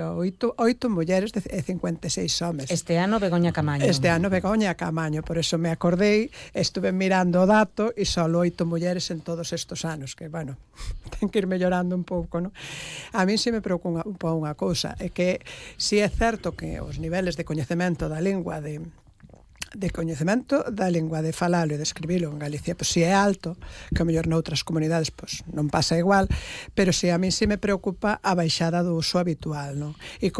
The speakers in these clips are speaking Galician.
oito mulleres e 56 homes. Este ano Begoña Camaño. Por eso me acordei, estuve mirando o dato e só 8 mulleres en todos estos anos, que, bueno, ten que ir mellorando un pouco, non? A mí se me preocupa unha cousa, é que si é certo que os niveles de coñecemento da lingua de falalo e de escribilo en Galicia, pois si é alto, que o mellor noutras comunidades pois non pasa igual, pero si a mí si me preocupa a baixada do uso habitual, non? E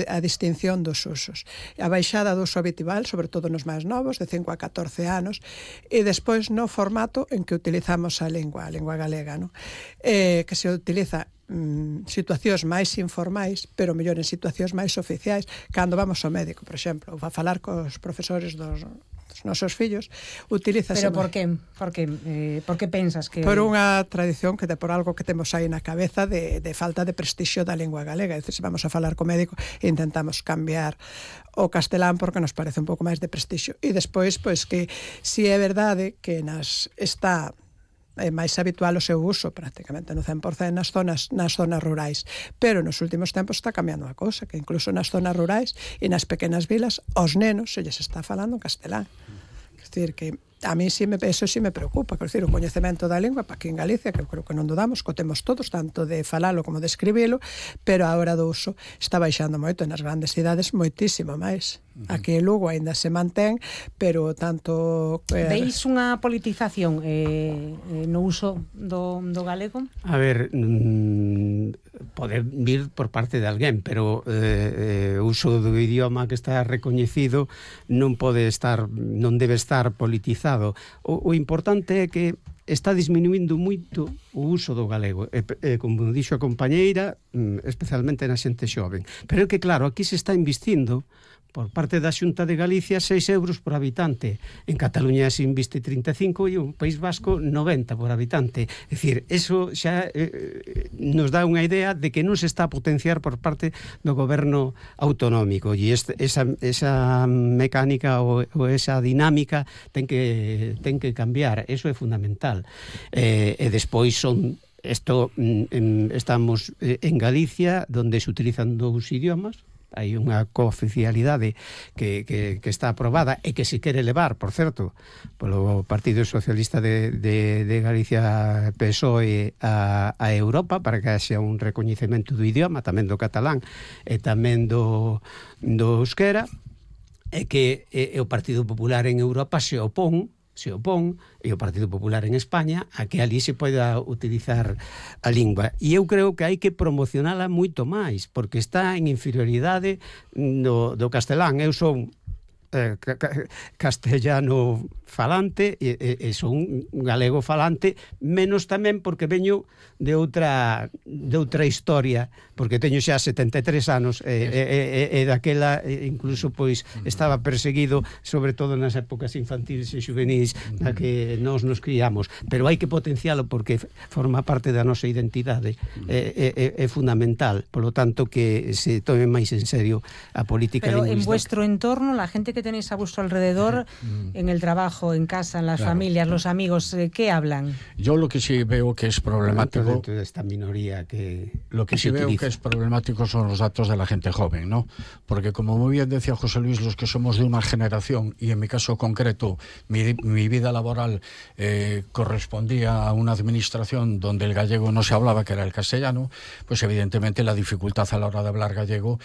a distinción dos usos. A baixada do uso habitual, sobre todo nos máis novos, de 5 a 14 anos, e despois no formato en que utilizamos a lingua galega, non? Que se utiliza situacións máis informais, pero mellor en situacións máis oficiais, cando vamos ao médico, por exemplo, a falar cos profesores dos nosos fillos, utilízase... Pero por que? Por que pensas que... Por unha tradición por algo que temos aí na cabeza de falta de prestixio da lingua galega. É dicir, se vamos a falar co médico, intentamos cambiar o castelán porque nos parece un pouco máis de prestixio. E despois, pois que si é verdade que está é máis habitual o seu uso prácticamente no 100% nas zonas rurais, pero nos últimos tempos está cambiando a cousa, que incluso nas zonas rurais e nas pequenas vilas aos nenos se lles está falando en castelán. Quer dizer que a mí eso sí me preocupa, quer dizer, o coñecemento da lingua para aquí en Galicia, que eu creo que non dudamos, que o temos todos, tanto de falalo como de escribilo, pero a hora do uso está baixando moito, nas grandes cidades moitísimo máis. Aquí en Lugo ainda se mantén, pero tanto... Veis unha politización no uso do galego? A ver, pode vir por parte de alguén, pero o uso do idioma que está recoñecido non debe estar politizado. O importante é que está disminuindo moito o uso do galego, como dixo a compañeira, especialmente na xente xoven. Pero é que, claro, aquí se está investindo por parte da Xunta de Galicia 6 euros por habitante. En Cataluña se inviste 35 e o País Vasco 90 por habitante. É dicir, eso xa nos dá unha idea de que non se está a potenciar por parte do goberno autonómico, e esa mecánica ou esa dinámica ten que cambiar. Eso é fundamental. E despois estamos en Galicia, donde se utilizan 2 idiomas. Hai unha cooficialidade que está aprobada e que se quere levar, por certo, polo Partido Socialista de Galicia, PSOE, a Europa, para que haxa un recoñecemento do idioma, tamén do catalán e tamén do euskera, e que o Partido Popular en Europa se opón, e o Partido Popular en España, a que ali se poida utilizar a lingua. E eu creo que hai que promocionala moito máis, porque está en inferioridade do castelán. Eu son castellano falante e son galego falante, menos tamén porque veño de outra historia, porque teño xa 73 anos e daquela incluso pois estaba perseguido, sobre todo nas épocas infantiles e juvenis na que nos criamos, pero hai que potencialo porque forma parte da nosa identidade, é fundamental, polo tanto que se tome máis en serio a política lingüística. Pero en vuestro entorno, la gente que tenéis a vuestro alrededor, en el trabajo, en casa, en las familias, los amigos, ¿qué hablan? Yo lo que sí veo que es problemático... Dentro de esta minoría lo que sí veo que es problemático son los datos de la gente joven, ¿no? Porque como muy bien decía José Luis, los que somos de una generación, y en mi caso concreto, mi vida laboral correspondía a una administración donde el gallego no se hablaba, que era el castellano, pues evidentemente la dificultad a la hora de hablar gallego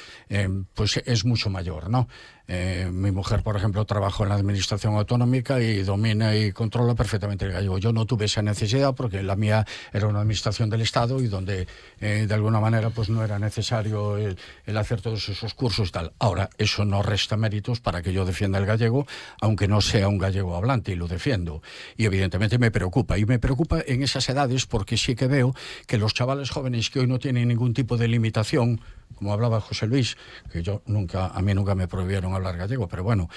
pues es mucho mayor, ¿no? Mi mujer, por ejemplo, trabajó en la administración autonómica y domina y controla perfectamente el gallego. Yo no tuve esa necesidad porque la mía era una administración del Estado y donde de alguna manera pues no era necesario el hacer todos esos cursos y tal. Ahora, eso no resta méritos para que yo defienda el gallego, aunque no sea un gallego hablante, y lo defiendo. Y evidentemente me preocupa. Y me preocupa en esas edades porque sí que veo que los chavales jóvenes que hoy no tienen ningún tipo de limitación, como hablaba José Luis, que a mí nunca me prohibieron hablar gallego, pero bueno,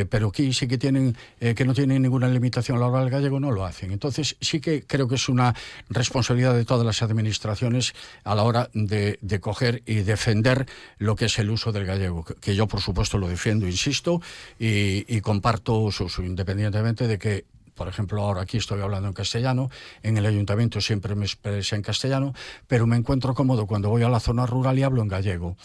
pero aquí sí que que no tienen ninguna limitación a la hora del gallego, no lo hacen. Entonces sí que creo que es una responsabilidad de todas las administraciones a la hora de coger y defender lo que es el uso del gallego, que yo por supuesto lo defiendo, insisto, y comparto su uso, independientemente de que por ejemplo, ahora aquí estoy hablando en castellano, en el ayuntamiento siempre me expresé en castellano, pero me encuentro cómodo cuando voy a la zona rural y hablo en gallego.